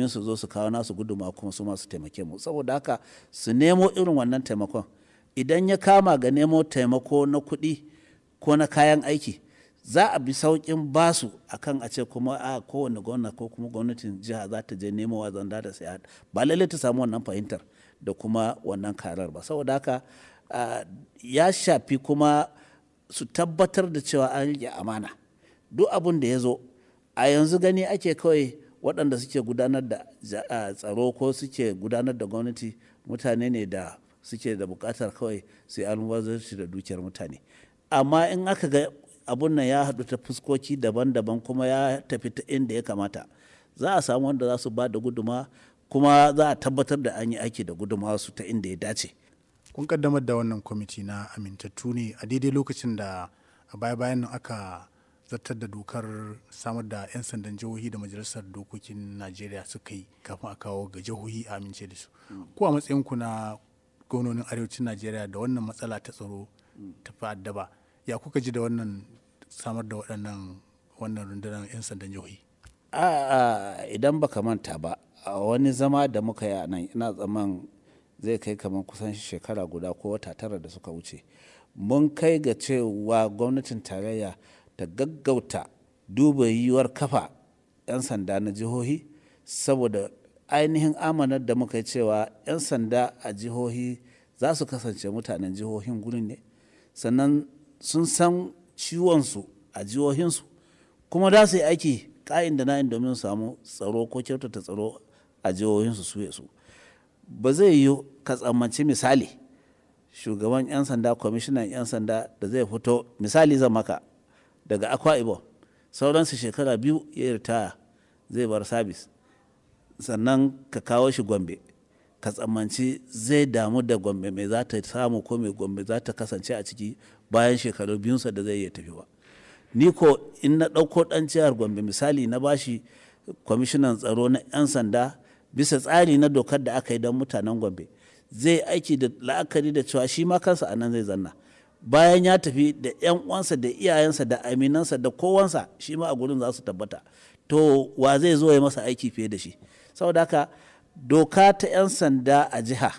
Su zo su kawo nasu guduma kuma su masu taimake mu. Saboda haka su nemo irin wannan taimakon. Idan ya kama ga nemo taimako na kuɗi ko na kayan aiki, za a bi sauƙin basu akan a ce kuma a kowane gwamna ko kuma gwamnatin jiha za ta je nemo wa zanda da saya. Ba lallai ta samu wannan fahimtar da kuma wannan karar ba. Saboda haka ya shafi kuma su tabbatar da cewa an riƙe amana. Duk abun da ya zo a yanzu gani ake kawai waɗanda suke gudanar da tsaro ko suke gudanar da gwamnati mutane ne da suke da buƙatar kawai su yi almubazzaranci da dukiyar mutane. Amma in aka ga abun nan ya haɗu ta fuskoki daban daban kuma ya tafi ta inda ya kamata, za a samu wanda za su ba da guduma kuma za a tabbatar da an yi aiki da gudumawarsu ta inda ya dace. Kun kaddamar da wannan kwamiti na amintattu ne a daidai lokacin da a baya bayan nan aka zartar da dokar samar da 'yan sandan jihohi da Majalisar Dokokin Najeriya suka yi kafin a kawo ga jihohi a amince da su. Ko a matsayinku na gwamnonin arewacin Najeriya da wannan matsala ta tsaro ta fi addaba, ya kuka ji da wannan samar da waɗannan wannan rundunar 'yan sandan jihohi? A'a, idan ba ka manta ba, a wani zama da muka yi a nan ina tsammanin zai kai kamar kusan shekara guda ko wata tara da suka wuce. Mun kai ga cewa gwamnatin tarayya ta gaggauta duba yiwuwar kafa 'yan sanda na jihohi saboda ainihin amanar da muka yi cewa 'yan sanda a jihohi za su kasance mutanen jihohin gurin ne. Sannan sun san ciwonsu a jihohinsu kuma za su yi aiki ka'in da na'in domin su samu tsaro ko kyautata tsaro a jihohinsu su ya su. Ba zai yiwu ka tsammanci misali shugaban 'yan sanda, kwamishinan 'yan sanda da zai fito misali zan maka daga Akwa Ibom sauransu shekara 2 ya yi ritaya zai bar sabis. Sannan ka kawo shi Gombe ka tsammanci zai damu da Gombe me za ta samu ko me Gombe za ta kasance a ciki bayan shekaru biyunsa da zai iya tafi ba. Ni ko in na ɗauko ɗan jihar Gombe misali na bashi kwamishinan tsaro na 'yan sanda bisa tsari na dokar da aka yi don mutanen Gombe, zai aiki da la'akari da cewa shi ma kansa a nan zai zanna. Bayan ya tafi da 'yan uwansa da iyayensa da aminansa da kowansa shi ma a gurin za su tabbata. To wa zai zo ya masa aiki fiye da shi? Saboda haka doka ta 'yan sanda a jiha